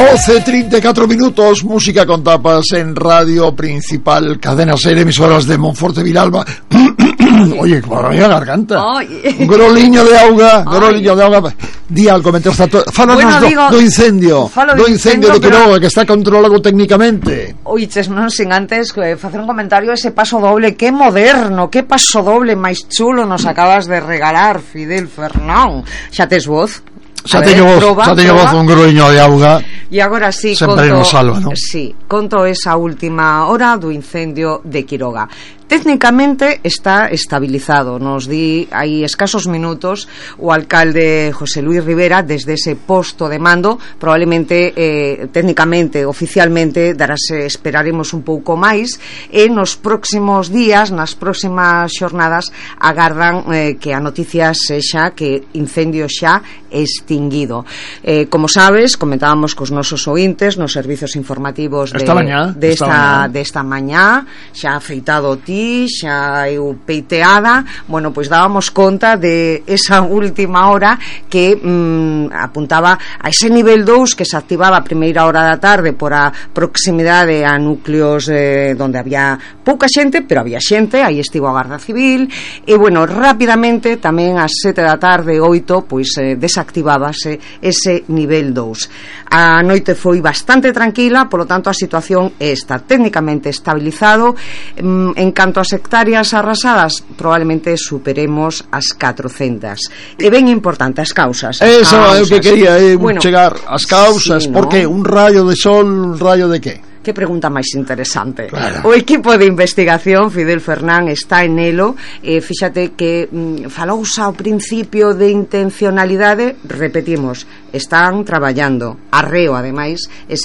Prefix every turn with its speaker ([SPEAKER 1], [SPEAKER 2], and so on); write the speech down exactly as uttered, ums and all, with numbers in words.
[SPEAKER 1] doce e trinta e catro minutos, música con tapas en Radio Principal, cadena ser, emisoras de Monforte Vilalba. Oye, para a garganta. Un groliño de auga, groliño de auga. Di algo, mentre está todo. Fálanos bueno, do, digo, do incendio, do incendio de Quiroga, que está controlado técnicamente.
[SPEAKER 2] Oiches, non sin antes eh, facer un comentario, ese paso doble, que moderno, que paso doble máis chulo nos acabas de regalar, Fidel Fernán. Xa tes voz?
[SPEAKER 1] Xa teño voz, proba, xa teño voz un groliño de auga.
[SPEAKER 2] E agora sí,
[SPEAKER 1] sempre
[SPEAKER 2] conto,
[SPEAKER 1] nos salva, ¿no?
[SPEAKER 2] Sí, conto esa última hora do incendio de Quiroga. Técnicamente está estabilizado. Nos di hai escasos minutos o alcalde José Luis Rivera desde ese posto de mando. Probablemente eh, técnicamente, oficialmente darase, esperaremos un pouco máis, e nos próximos días, nas próximas xornadas agardan eh, que a noticia sexa que incendio xa extinguido. Eh, como sabes, comentábamos cos nosos ointes nos servizos informativos de,
[SPEAKER 1] esta mañá,
[SPEAKER 2] de esta,
[SPEAKER 1] esta,
[SPEAKER 2] de esta mañá, xa afeitado ti, xa eu peiteada. Bueno, pois dábamos conta de esa última hora que mm, apuntaba a ese nivel dous que se activaba a primeira hora da tarde por a proximidade a núcleos eh, donde había pouca xente, pero había xente, aí estivo a Garda Civil, e bueno, rapidamente tamén ás sete da tarde, oito, pois eh, desactivábase ese nivel dous. A noite foi bastante tranquila, polo tanto a situación está técnicamente estabilizado. En canto as hectáreas arrasadas, probablemente superemos as catrocentas. E ben importante, as causas. As
[SPEAKER 1] Eso é o que quería eh,
[SPEAKER 2] bueno,
[SPEAKER 1] chegar, as causas,
[SPEAKER 2] sí,
[SPEAKER 1] ¿no? Por que? Un rayo de sol, un rayo de qué?
[SPEAKER 2] Que pregunta máis interesante.
[SPEAKER 1] Claro.
[SPEAKER 2] O equipo de investigación Fidel Fernán está en elo. eh, Fíxate que mm, falouse ao principio de intencionalidade. Repetimos, están traballando arreo, ademais,